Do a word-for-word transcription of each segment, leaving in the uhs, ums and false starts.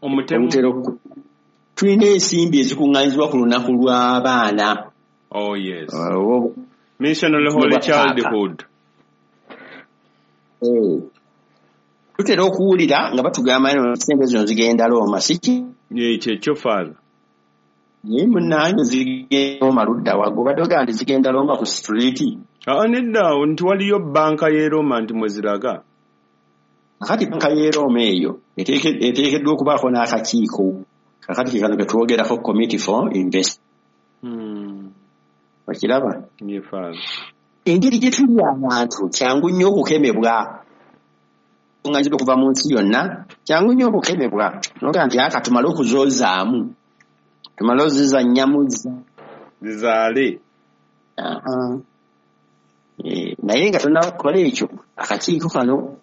Omutemu. Tulina ensimbi ezikuŋŋaanyizibwa ku lunaku lw'abaana. Oh yes. Uh, Missionary Holy Childhood. Eh. Tutera okuwulira nga batugamba nti ssente zino zigenda Roma, si ki? Kyekyo Father. Naye munnange zigenda Roma ludda wa? Gwe obadde ogamba nti zigenda Roma ku street? Aa nedda, nti waliyo bbanka y'e Roma nti mwe ziraga. Kakati bbanka y'e Roma eyo eteekeddwa okubaako n'akakiiko. Kakati ke kano ke twogerako, Committee for Investment. Hmm. Okiraba? Ye Father. Engeri gye tuli abantu kyangu nnyo okukemebwa. Kuŋŋaanyizibwa okuva mu nsi yonna kyangu nnyo okukemebwa. N'ogamba nti aka tumale okuzoozaamu. Tumale ozizannyamu. Zizaale. E, naye nga tonnaba kukola ekyo, akakiiko kano,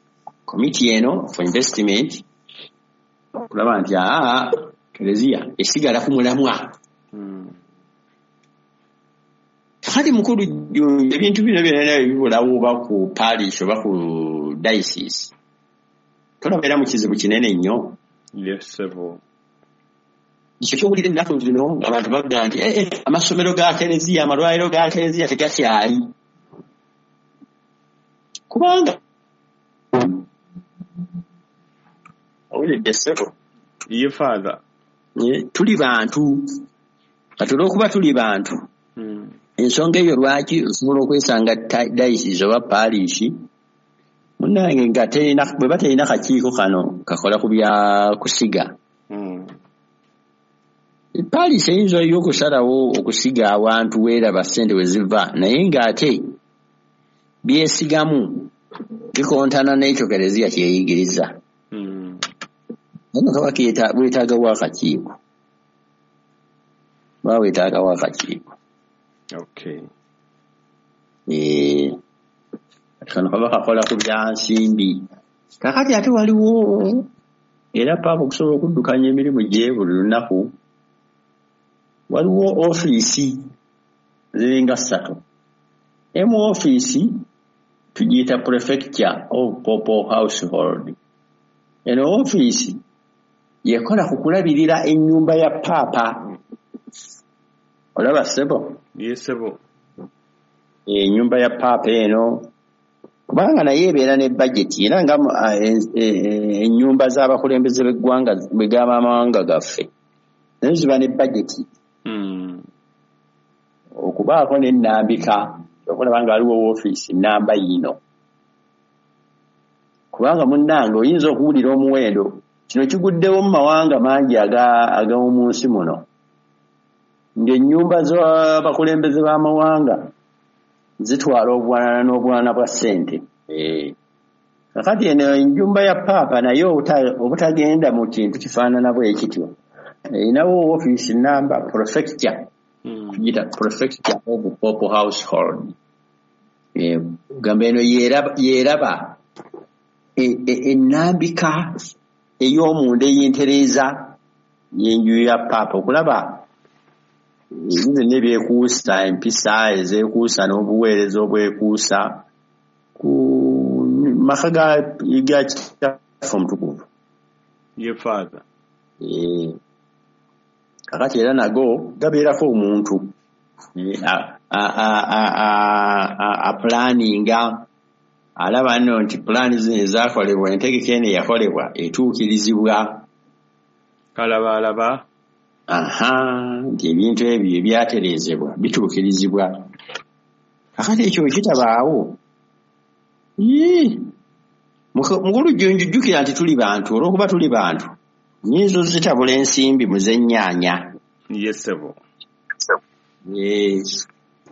committee eno for investment, okulaba nti aa Kereziya esigala ku mulamwa. Hmm. Kakati mukulu ebintu bino byonna ebibulawo oba ku parish oba ku diocese, tolabeera mu kizibu kinene nnyo. Yes, sebo. Ekyo ky'owulira ennaku zino abantu bagamba nti eh, eh, amasomero ga Kereziya, amalwaliro ga Kereziya tegakyali. Kubanga owulidde ssebo? Ye Father. Tuli bantu. Kati olw'okuba tuli bantu, Hmm. ensonga eyo lwaki osobola okwesanga diocese oba parish munnange nga terina, bwe baterina kakiiko kano kakola ku bya kusiga. Hmm. Parish eyinza yo okusalawo okusiga awantu weeraba ssente we ziva, naye ng'ate byesigamu bikontana n'ekyo Kereziya kyeyigiriza. Hmm. Naye kaba weetaagawo akakiiko. Baba weetaagawo akakiiko. Okay. Eh, kano kaba kakola ku bya nsimbi. Kakati ate waliwo era Paapa okusobola okuddukanya emirimu gye buli lunaku, waliwo ofiisi ziringa ssatu. Emu ofiisi tugiyita Prefecture of Papal Household. Eno ofiisi yekola ku kulabirira ennyumba ya Paapa. Olaba ssebo? Ye ssebo. Ennyumba ya Paapa eno kubanga naye ebeera ne bajeti, era nga ennyumba z'abakulembeze b'eggwanga bwe gaba amawanga gaffe nazo ziba ne bajeti. Hmm. Okubaako n'ennambika okulaba nga waliwo woofiisi nnamba yino, kubanga munnange oyinza okuwulira omuwendo kino kiguddewo mu mawanga mangi ag'omu nsi muno, ng'ennyumba z'abakulembeze b'amawanga zitwala obwanana n'obwana bwa ssente. Kakati eno ennyumba ya Paapa naye obutagenda mu kintu kifaanana bwe kityo, erinawo woofiisi nnamba prefecture, tugiyita Prefecture of Papal Household. Gamba eno yeeraba ennambika ey'omunda ey'entereeza y'enju ya Paapa, okulaba ebintu byonna ebyekuusa, empisa ezeekuusa n'obuweereza obwekuusa ku maka ga Kitaffe Omutukuvu. Ye Father. Kakati era nago gabeerako omuntu apulaninga, alaba nno nti pulaani zino ezaakolebwa, entegeka eno eyakolebwa etuukirizibwa. Kalabaalaba. Aha, nti ebintu ebyo ebyatereezebwa bituukirizibwa. Kakati ekyo kitabaawo, mukulu Jjunju jjukira nti tuli bantu, olw'okuba tuli bantu nnyinza ozitabula ensimbi mu z'ennyaanya. Ye ssebo.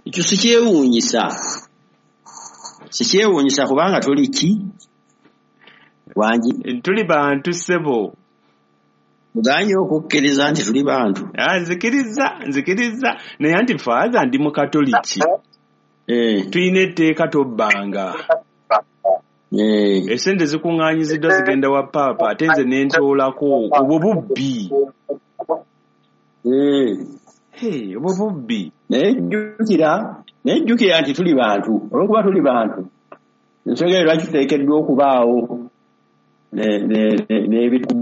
Ekyo sikyewuunyisa, sikyewuunyisa kubanga tuli ki? Wangi? Tuli bantu ssebo. Muganye okukkiriza nti tuli bantu. Ah, nzikiriza, nzikiriza. Naye anti Father ndi Mukatoliki. Eh. Tulina etteeka tobbanga. Eh. Essente zikuŋŋaanyiziddwa zigenda wa Paapa, ate nze ne ntoolako. Obwo bubbi. Eh. Hey, obwo bubbi. Naye jjukira, naye jjukira nti tuli bantu. Olw'okuba tuli bantu, ensonga eyo lwaki tuteekeddwa okubaawo n'ebitu